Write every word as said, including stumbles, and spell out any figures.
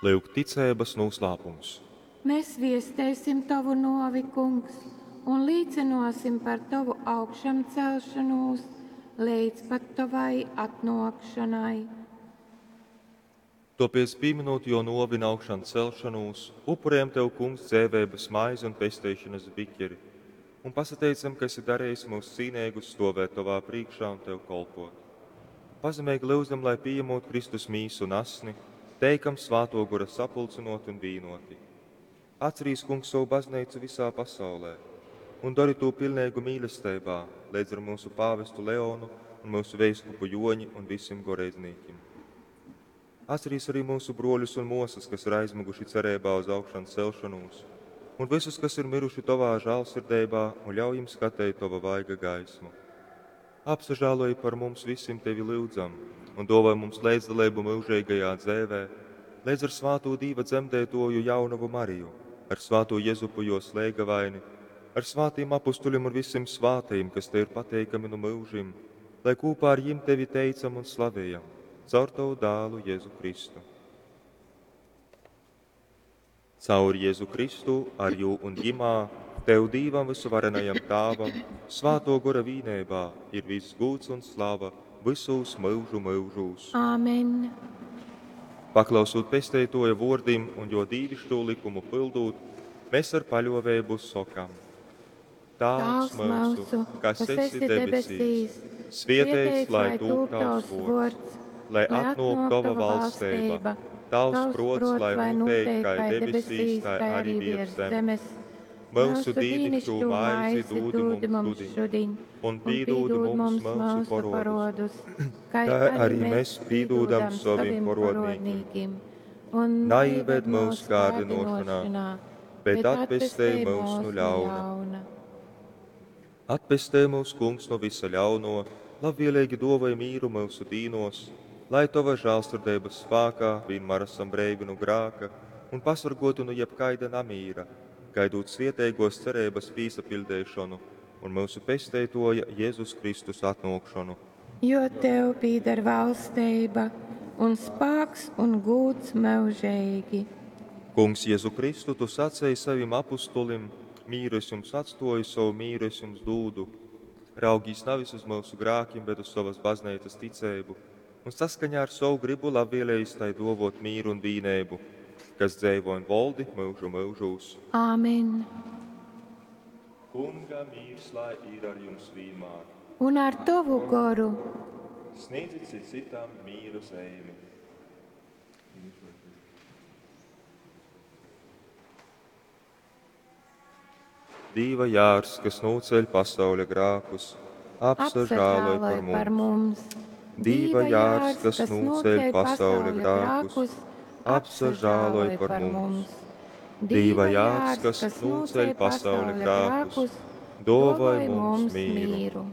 Lyuk ticeibas nūslāpums. Mēs viesteisim Tovu nōvi, Kungs, un līcynōsim par Tovu augšamcelšonūs leidz pat Tovai atnōkšonai. Tōpēc, pīmynūt jō nōvi un augšancelšonūs, upurējam Tev, Kungs, dzeiveibas maizi un pesteišonas bikeri, un pasateicam, ka esi darejis myus cīneigus stovēt Tovā prīškā un Tev kolpot. Pazemeigi lyudzam, lai pījemūt Kristus mīsu un asni, teikam Svātō Gora sapulcynōti un vīnōti. Atcerīs, Kungs, sovu bazneicu visā pasaulē un dori tū pilneigu mīlesteibā, leidz ar mūsu pāvestu Leonu un mūsu veiskupu Joņi un visim goreidznīkim. Atcerīs arī mūsu broļus un mosas, kas ir aizmiguši cereibā uz augšancelšanos, un visus, kas ir miruši Tovā žālsirdeibā, un ļauj jim skateit Tova vaiga gaismu. Apsažāloj par mums visim Tevi lyudzam, un dōvoj mums leidzdaleibu myužeigajā dzeivē, leidz ar svātū Dīva dzemdētoju jaunavu Mariju, ar svātū Jezupu jos leigavaini, ar svātīm apustuļiem un visim svātajim, kas Tev ir pateikami nu myužim, lai kopā ar jim Tevi teicam un slavējam, caur Tavu dālu Jēzu Kristu. Caur Jēzu Kristu, ar jū un jimā, Tev Dīvam vysuvarenajam Tāvam, Svātō Gora vīneibā ir viss gūds un slava visūs myužu myužūs. Āmen. Paklausūt Pesteitoja vōrdim un jo dīvišķo likumu pildūt, mēs ar paļoveibu sokam: Tāvs myusu, kas esi debesīs, svietēts lai tūp tavs vōrds, lai atnōk tova valsteiba, tavs prots, lai nūteik kai debesīs, tai arī virs zemes. Mūsu dīnišķo maizi dūdi mums šodien, un pīdūdi mums mūsu parodus, kā kā arī mēs pīdūdam saviem parodnīkim. Un Naieved mūsu kārdinošanā, bet atpestej mūs no ļauna. Atpestej mūs, Kungs, no visa ļauno, labvēlīgi dāvāj mīru mūsu dīnos, lai Tava žēlsirdības spēkā vienmēr esam breivi no grāka un pasargoti no jebkaida namīra, gaidot svietēgos cerības pīsapildēšanu un mūsu pesteitoja Jēzus Kristus atnākšanu. Jo Tev pīder valstība un spāks un gūds mūžīgi. Kungs, Jēzu Kristu, Tu sacēji savim apustulim: mīru es jums atstoju, savu mīru es jums dūdu. Raugīs nevis uz mūsu grākiem, bet uz savas baznīcas ticību, un saskaņā ar savu gribu labvēlējis tai dovot mīru un vīnēbu, kas dzēvo un valdi mūžu mūžūs. Āmen. Kunga mīrs lai ir ar jums vienmēr. Un ar tavu goru. Sniedzit cits citam mīru zīmi. Dīva jārs, kas nūceļ pasauļa grākus, apsažāloj par mums. par mums. Dīva jārs, kas nūceļ pasauļa grākus, apsažāloj par mums. Dīva jārs, kas nūceļ pasauļa grākus, dāvāj mums mīru. mīru.